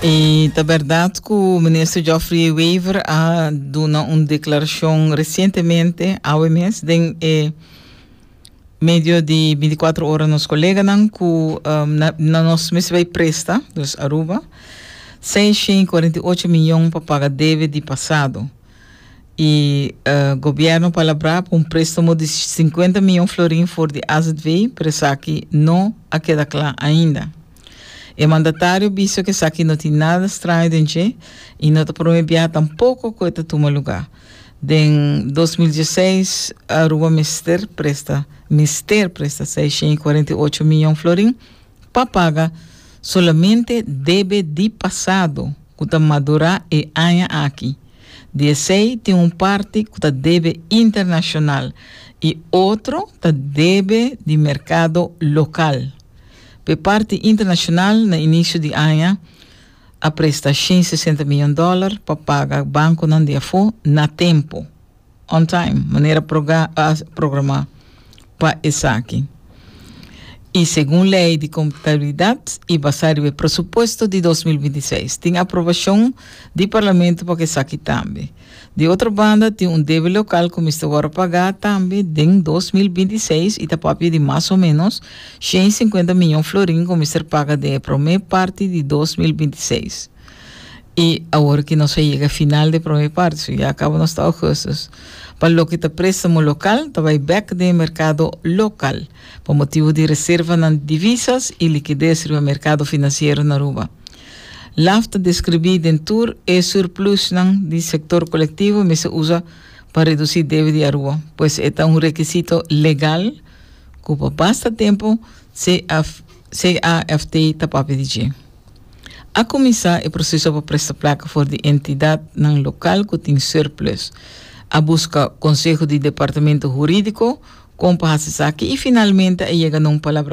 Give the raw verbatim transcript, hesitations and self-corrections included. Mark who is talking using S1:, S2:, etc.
S1: I ta berdat ku minister Geoffrey Wever a duna un deklarashon resientemente, awe mes, den eh, medio di bintikuater ora nos koleganan ku um, na, na nos mester bai presta, dus Aruba, seisshen kuarenta i ocho mion pa paga debe di pasado. I uh, gobièrnu a palabrá un préstamo di sinkuenta mion florin for di A Z V, pero esaki no a keda kla ainda. E mandatario a bisa ku esaki no tin nada straño den dje i no ta promé biaha tampoko ku e ta tuma lugá. Den dos mil diesseis, Aruba mester presta, mester presta seisshen kuarenta i ocho mion florin pa paga solamente debe di pasado, ku ta madurá e aña aki. Di esei tin un parti ku ta debe internashonal i otro ta debe di merkado lokal. Pa parti internashonal, na inisio di aña, a presta shen sesenta mion di dòler pa paga bankonan di afó na tempu, on time, manera programá pa esaki. I segun lei di kontabilidat i basá riba presupuesto di dos mil bintiseis, tin aprobashon di parlamento pa esaki tambe. Di otro banda, tin un debe lokal ku mester paga tambe den dos mil bintiseis i ta papia di mas o ménos shen sinkuenta mion florin ku mester paga den promé parti di dos mil bintiseis. I awor ku nos a yega final di promé parti, ya kaba nos ta ougùstùs. Pa loke ta préstamo lokal, ta bai bèk den merkado lokal, pa motibu di reserva na divisas i likides den merkado finansiero na Aruba. L A F ta deskribí den tur e surplus di sektor kolektivo, mester usa pa redusí debe di Aruba, pues ta un rekisito legal ku pa basta tempu C F, C A F T ta papia di dje. A kuminsá e proseso pa presta plaka for di entidatnan lokal ku tin surplus. A buska konseho di departamento hurídiko kon pa hasi esaki i finalmente a yega na un palabra.